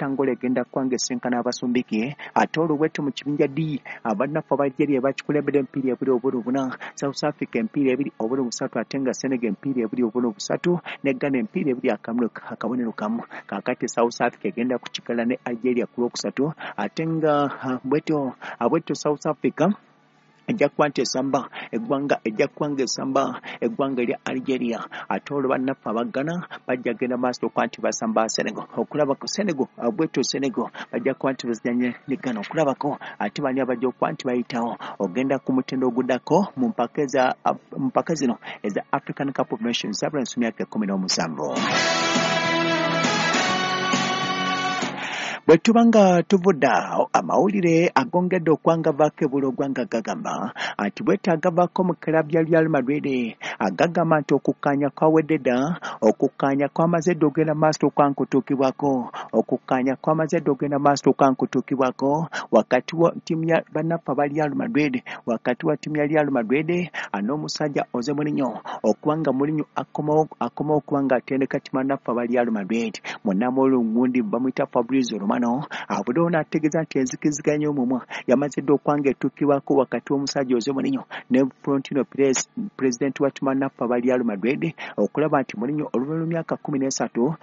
Angola egenda kuba esinkana Abasumbiki. Ate olwo mu kibinja D, abannaffe aba Algeria bakikulembera emipiira 2-4, South Africa emipiira 2-3, ate nga Senegal emipiira 2-3, ne Ghana emipiira 2-1. Kaakati South Africa egenda kukikala ne Algeria ku Lwokusatu, ate nga bwetyo South Africa ejja kuba nti esamba eggwanga, ejja kuba nga esamba eggwanga erya Algeria. Ate olwo bannaffe aba Ghana bajja kugenda maaso okuba nti basamba Senegal, okulabako Senegal bwetyo Senegal bajja kuba nti bazanye ne Ghana, okulabako ate bani abajja okuba nti bayitawo ogenda ku mutendo oguddako mu mpaka zino eza African Cup of Nations abalenzi myaka 17. Bwe tuba nga tuvudde awo, amawulire agongedde okwangavaako ebula ogwanga gagamba nti bwetaagavaako mu club ya Real Madrid, agagamba nti okukkaanya kwawedde dda, okukkaanya kwamaze dda ogenda maaso okwankutuukibwako, okukkaanya kwamaze dda ogenda maaso okwankutuukibwako wakati wa ttiimu ya bannaffe aba Real Madrid, wakati wa ttiimu ya Real Madrid n'omusajja Jose Mourinho, okuba nga Mourinho akomawo okuba nga atendeka ttiimu bannaffe aba Real Madrid. Munnamawulire gundi bamuyita Fabrizio Romano avuddewo n'ategeeza nti enzikiziganya omumwa yamaze dda okuba nga etuukibwako wakati w'omusajja Jose Mourinho ne Florentino Perez, pulezidenti wa ttiimu bannaffe aba Real Madrid, okulaba nti Mourinho oluvannyuma lw'emyaka 13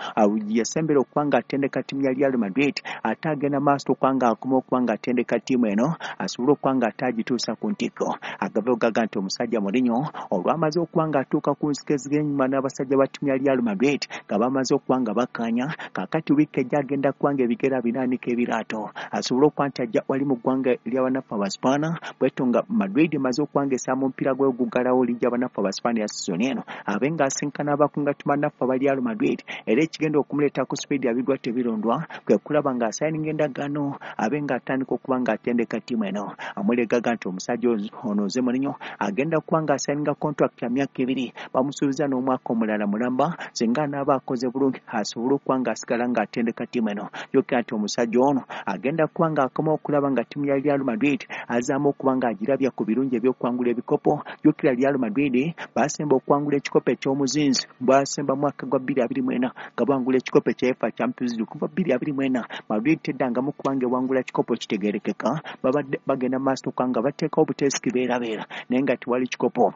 yasembera okuba nga atendeka ttiimu ya Real Madrid, ate agenda maaso okuba nga akoma okuba nga atendeka ttiimu eno asobole okuba nga ate agituusa ku ntikko. Agava gaga nti omusajja Mourinho olwamaze okuba nga atuuka ku nzikiziganya n'abasajja ba ttiimu ya Real Madrid nga bamaze okuba nga bakkaanya, kaakati wiiki ejja agenda kuba nga ebigere binaanika ebiraato asobole okuba nti ajja wali mu ggwanga ly'abannaffe Abaspaana. Bwetyo nga Madrid emaze okuba nga esamba omupiira gwe oguggalawo liigi y'abannaffe Abaspaana ya sizoni eno, abe ng'asinkana abakunga ttiimu bannaffe aba Real Madrid. Era ekigenda okumuleeta ku sipiidi abigwa tebirondwa kwe kulaba ng'asayininga endagaano abe ng'atandika okuba ng'atendeka ttiimu eno. Amulegaga nti omusajja ono Jose Mourinho agenda kuba ng'asayininga contract ya myaka 2, bamusuubiza n'omwaka omulala mulamba singa anaaba akoze bulungi asobole okuba ng'asigala ng'atendeka ttiimu eno. Jjukira nti omusajja ono agenda kuba ng'akoma okulaba nga ttiimu ya Real Madrid azaamu okuba ng'agirabya ku birungi ebyokuwangula ebikopo. Jjukira Real Madrid baasemba okuwangula ekikopo eky'omuzinzi, baasemba mwaka gwa 2024 nga bawangula ekikopo ekya UEFA Champions League. Kuva 2024 Madrid teddangamu kuba ng'ewangula kikopo kitegeerekeka, babadde bagenda maaso okuba nga bateekawo obuteesi kibeerabeera naye nga tewali kikopo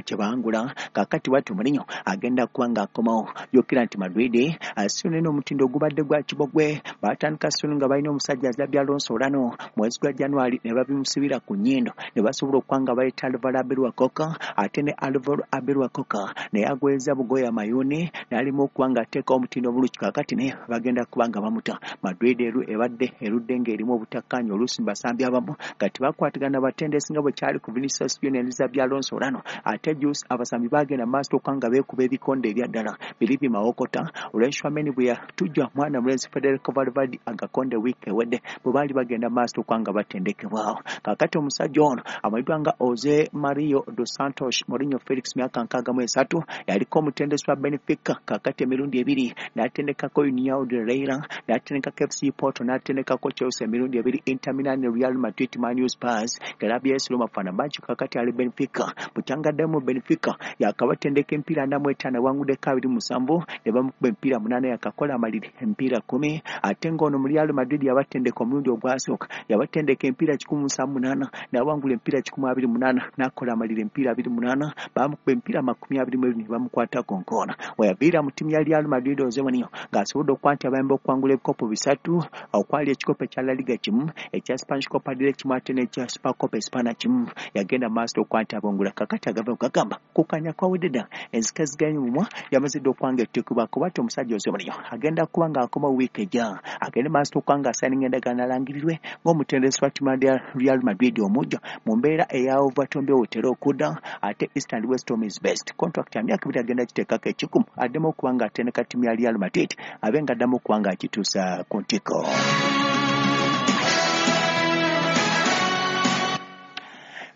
kyebangula. Kaakati bwatyo Mourinho agenda kuba ng'akomawo. Jjukira nti Madrid sizoni eno omutindo ogubadde gwa kibogwe, baatandika sizoni nga balina omusajja Xabi Alonso Olano mwezi gwa January ne babimusibira ku nnyindo ne basobola okuba nga baleeta Alvaro Arbeloa Koka, ate ne Alvaro Arbeloa Koka naye agweza bugoye amayuuni n'alimu okuba ng'ateekawo omutindo omulungi. Kaakati naye bagenda kuba nga bamuta. Madrid ebadde erudde ng'erimu obutakkaanya oluusi mu basambi abamu nga tebakwatagana batendesi nga bwe kyali ku Vinicius Junior ne Xabi Alonso Olano. Ate juice abasambi bagenda maaso okuba nga beekuba ebikonde ebya ddala biri bimawokota olw'Tchouameni bwe yatujja mwana mulenzi Federico Valverde agakonde wiiki ewedde bwe baali bagenda maaso okuba nga batendekebwawo. Kaakati omusajja ono amanyiddwa nga Jose Mario dos Santos Mourinho Felix, myaka 63, yaliko omutendesi wa Benfica kaakati emirundi 2, n'atendekako União de Leiria, n'atendekako FC Porto, n'atendekako Chelsea emirundi 2, Inter Milan, Real Madrid, Man U, Spurs, club ya AS Roma, Fenerbahce. Kaakati ali Benfica, bucyangaddemu Benfica yakabatendeka emipiira 45, awanguddeko 27 ne bamukuba emipiira 8, yakakola amaliri emipiira 10. Ate ng'ono mu Real Madrid yabatendeka omulundi ogwasooka, yabatendeka emipiira 178, n'awangula emipiira 128, n'akola amaliri emipiira 28, bamukuba emipiira 22 ne bamukwatako nkoona. Weyaviira mu ttiimu ya Real Madrid Jose Mourinho ng'asobodde okuba nti abayamba okuwangula ebikopo 3, okwali ekikopo ekya La Liga 1, ekya Spanish Copa del Rey 1, ate n'ekya Supercopa Espana 1, yagenda maaso okuba nti abongula. Kakati agava gagamba kukanya kwawedde dda, enzikaziganya omumwa yamaze dda okuba nga etuukibwako. Bw'atyo omusajja Jose Mourinho agenda kuba ng'akoma wiiki ejja, agende maaso okuba ng'asayininga endagaano alangirirwe ng'omutendesi wa ttiimu ya Real Madrid omujja mu mbeera eya Overton wetera okudda ate East and West home is best. Contract ya myaka 2 agenda kiteekako ekikumu addemu okuba ng'atendeka ttiimu ya Real Madrid, abe ng'addamu okuba ng'agituusa ku ntikko.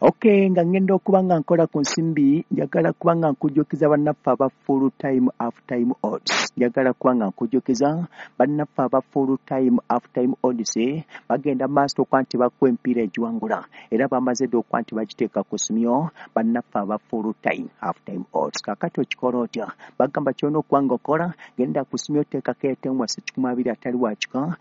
Okay, nga ngenda okuba nga nkola ku nsimbi, njagala kuba nga nkujjukiza bannaffe aba full time half time odds. Njagala kuba nga nkujjukiza bannaffe aba full time half time odds bagenda maaso okuba nti bakuwa emipiira egiwangula, era bamaze dda okuba nti bagiteeka ku simyo bannaffe aba full time half time odds. Kaakati okikola otya? Bagamba kyolina okuba nga okola, genda ku simyo, teekako etemwase 120 atali wakika.